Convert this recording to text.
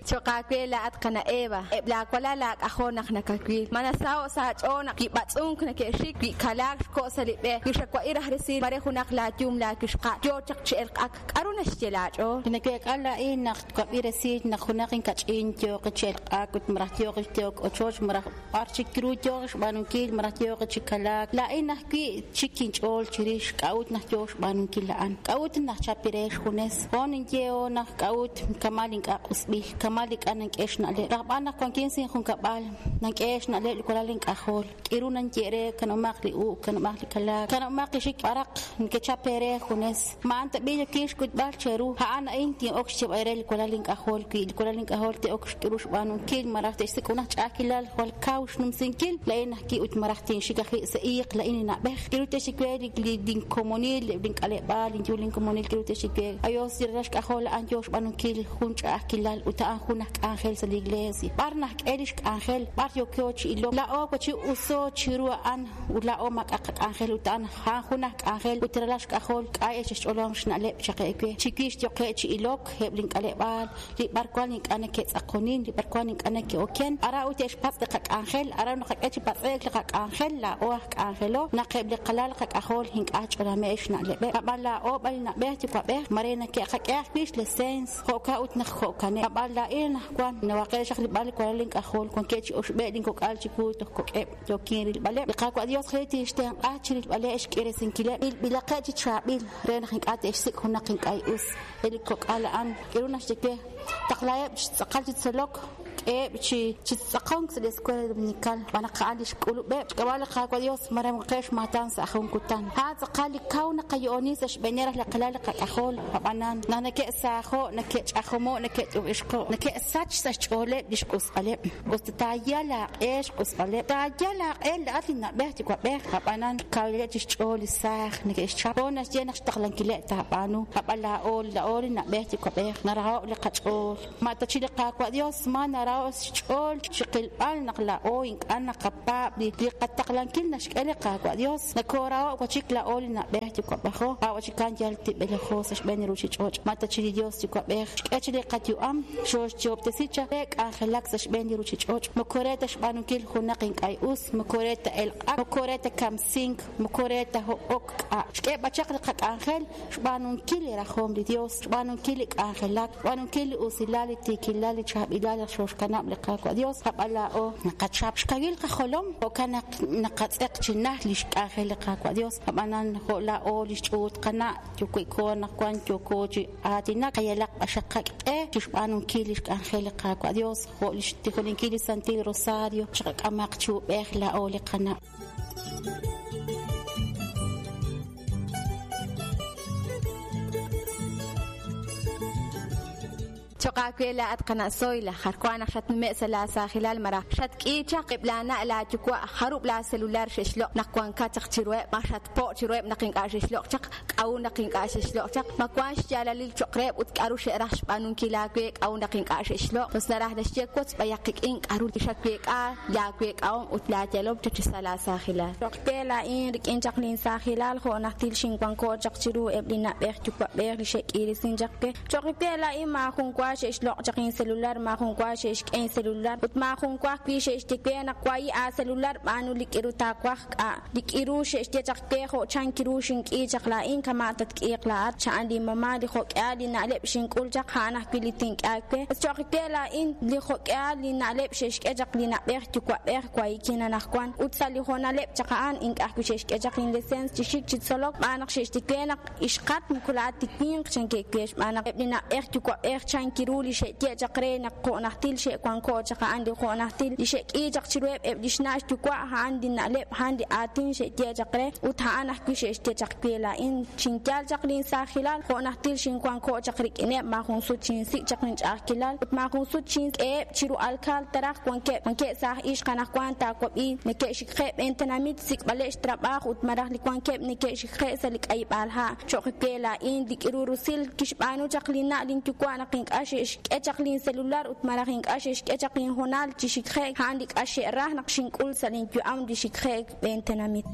Cho'q aawe laa'at qana' Eva, eb' laawalal laak'ajol naq nakawil. Ma nasaho'k sa' aach'ool naq wi b'atz'unk nake'xik, wi kalaak xko' sa' li b'e, wi xawa'i raj resil mare junaq laayum laawixqa' yo chaq chi elq'ak, k'aru naxye laach'ool? Li naweek'a laa'in naq twab'i resil naq junaq inkach'in yooq chi elq'ak ut malaj yooq chi tehok ochoch malaj b'ar chik ru yooq xb'aanunkil malaj yooq chi kalaak, laa'in ajwi' txik inch'ool chirix k'a'ut naq yooq xb'aanunkil a'an, k'a'ut naq xchap re xjunes. Hoon ninye hoon naq k'a'ut kamal ink'a' q'usb'il, kamal ink'a' nank'e xna'leb'. Rajb'al naq wankin sa' injunkab'al, nank'e xna'leb' li walal ink'ajol, k'iru nanye re kanab'omaq li u'k, kanab'omaq li kalaak, kanab'omaq li xik b'araq nekechap eere junes. Ma a'an tab'i' yookin xk'utb'al cheru? A'an a'in tin'ok xyeeb'al eere li walal ink'ajol, wi li walal ink'ajol te'ok k'iru xb'aanunkil malaj te'xsik' junaq ch'a'ajkilal jwal kaw xnumsinkil, laa'in ajwi' ut malaj tinxik ajwi' sa' iiq laa'in li na'b'ej. K'iru te'xye we li linkomonil, eb' link'aleb'aal, linyu linkomonil, k'iru te'xye we, Ayos, li ralal xk'ajol a'an yoo xb'aanunkil jun ch'a'ajkilal ut a'an jun aj k'anjel sa' li iglees. B'ar najk'e lix k'anjel? B'ar yooko chi ilok? Laa'o wachi uso chiru a'an ut laa'o maak'a' qak'anjel ut a'an a'an jun aj k'anjel ut ralal xk'ajol k'a' xch'olom xna'leb' chaq ewe. Chiwix yoqe' chi ilok eb' link'aleb'aal, li b'arwan ink'a' neke'tz'aqonin, li b'arwan ink'a' neke'oken, aran ut te'xpatz' li qak'anjel, aran naqak'e chi patz'e'k li qak'anjel, laa'o aj k'anjelo, naq eb' li qalal qak'ajol ink'a' ch'olame'k xna'leb'eb', ab'an laa'o b'an li na'b'ej yuwa'b'ej mare nake'qak'e ajwi' xleseens, jo'kan ut naq jo'kaneb'. Ab'an laa'in anaqwan nawaqe' xaq rilb'al li walal ink'ajol, wankeb' chi oxb'e' linkok'al chiwu toj kok'eb', yookin rilb'aleb'. Li Qaawa' Dios qe tinxtenq'a chi rilb'aleb' xk'iresinkileb', ilb'ilaqeb' chi chaab'il re naq ink'a' te'xsik' junaq ink'a' us. Eb' li kok'al a'an k'aru naxye we, taqlaheb' chi tz'aqal chi tzolok, k'eheb' chi chi tz'aqonk sa' li Escuela Dominical, xb'aan naq a'an li xk'ulub'eb' xk'ab'a' li Qaawa' Dios maramqeb' xmaatan sa' jun kutan. A'an tz'aqal li kaw naqayo'oni sa' xb'eeneb' raj li qalal li qak'ajol, ab'anan naq neke'saajo', neke'ch'ajomo', neke't'ub'ixqo', neke'sach sa' xch'ooleb' li xq'usb'aleb'. Us ta taayal aaq'e xq'usb'aleb', taayal aaq'e laa'at li na'b'ej yuwa'b'ej, ab'anan kawileb' chi xch'ool li saaj neke'xchap. Hoon naxye naq xtaqlankileb' taab'aanu, ab'an laa'o, laa'o li na'b'ej yuwa'b'ej, naraho' li qach'ool. Ma ta chi li Qaawa' Dios ma naraho' xch'ool chiqilb'al naq laa'o ink'a' naqapaab' li qataqlankil naxk'e li Qaawa' Dios? Nakooraho' wachik laa'o li na'b'ej yuwa'b'ejo, a' wachikan yal tib'elejo sa' xb'een li ruchich'och'. Ma ta chi li Dios yuwa'b'ej xk'e chi li qayu'am, xooxyoob'tesi chaq re k'anjelak sa' xb'een li ruchich'och', moko re ta xb'aanunkil junaq ink'a' us, moko re ta elq'ak, moko re ta kamsink, moko re ta hob'ok k'a'. Xk'e b'an chaq li qak'anjel xb'aanunkil li rajom li Dios, xb'aanunkil li k'anjelak, xb'aanunkil li usilal, li tiikilal, li chaab'ilal naq xooxkanab' li Qaawa' Dios, ab'an laa'o naqachap xkawil qajolom, jo'kan naq naqatz'eq chi najt lix k'anjel li Qaawa' Dios. Ab'anan jo' laa'o lix ch'uut qana' yuwi'ko anaqwan yooko chi aatinak, qayalaq q'axaq qaq'e chi xb'aanunkil lix k'anjel li Qaawa' Dios, jo' lix tijoninkil li Santil Rosario, chiqak'amaq chi ub'ej laa'o li qana'. Cho'q aawe laa'at qana' Zoila, jar wank naq xatnume'k sa' laasaajilal malaj xatk'iik chaq, eb' laana' laayuwa' jarub' laaselular xe'xloq' naq wankat chaq chiruheb', ma xatpo' chiruheb' naq ink'a' xe'xloq' chaq, k'a'ut naq ink'a' xe'xloq' chaq, ma wank xyaalalil cho'q reheb' ut k'aru xe'raj xb'aanunkil aawe k'a'ut naq ink'a' xe'xloq'. Us naraj naxye wotz b'ayaq qik'in k'aru xaweek'a laaweek'ahom ut laayalom chaq chi sa' laasaajilal. Cho'q we laa'in rik'in chaq linsaajilal jo' najtil xinwanko' chaq chiru eb' li na'b'ej yuwa'b'ej li xe'k'iiresink chaq we. Cho'q we laa'in maajunwa xe'xloq' chaq incelular, maajunwa xe'xk'e incelular ut maajunwa ajwi' xe'xye we naq wahi' aacelular b'aanu li k'iru taawaj k'a'. Li k'iru xe'xye chaq we jo' chan kiru xink'i chaq laa'in kama' tatk'iiq laa'at, cha'an linmama' li jo'k'ihal li na'leb' xink'ul chaq a'an ajwi' li tink'e aawe. Cho'q we laa'in li jo'k'ihal li na'leb' xe'xk'e chaq li na'b'ej yuwa'b'ej wahikin anaqwan ut sa' li hoonaleb' chaq a'an ink'a' ajwi' xe'xk'e chaq inleseens chi xik chi tzolok xb'aan naq xe'xye we naq ixqat moko laa'at ti winq chankeb' we xb'aan naq eb' li na'b'ej yuwa'b'ej chan kiru li xe'ye' chaq re naq jo' najtil xe'wanko' chaq a'an li jo' najtil li xe'k'i chaq chiruheb' eb' li xna' xyuwa' a'an li na'leb' a'an li aatin xe'ye' chaq re ut a'an ajwi' xe'xye chaq we laa'in xinyal chaq linsaajilal jo' najtil xinwanko' chaq rik'ineb' maajun sut xinsik' chaq linch'a'ajkilal ut maajun sut xink'eheb' chiru alkaal taraj wankeb' wankeb' saaj ixq anaqwan taawab'i neke'xikqe' b'een tenamit xsik'b'aleb' xtrab'aaj ut malaj li wankeb' neke'xikqe' sa' li k'ayib'aal ha' cho'q we laa'in li k'iru rusil kixb'aanu chaq linna' linyuwa' naq ink'a' xe'xk'e chaq lincelular ut malaj ink'a' xe'xk'e chaq inhoonal chi xikje'k a'an li k'a xe'raj naq xink'ul sa' linyu'am li xikje'k b'een tenamit.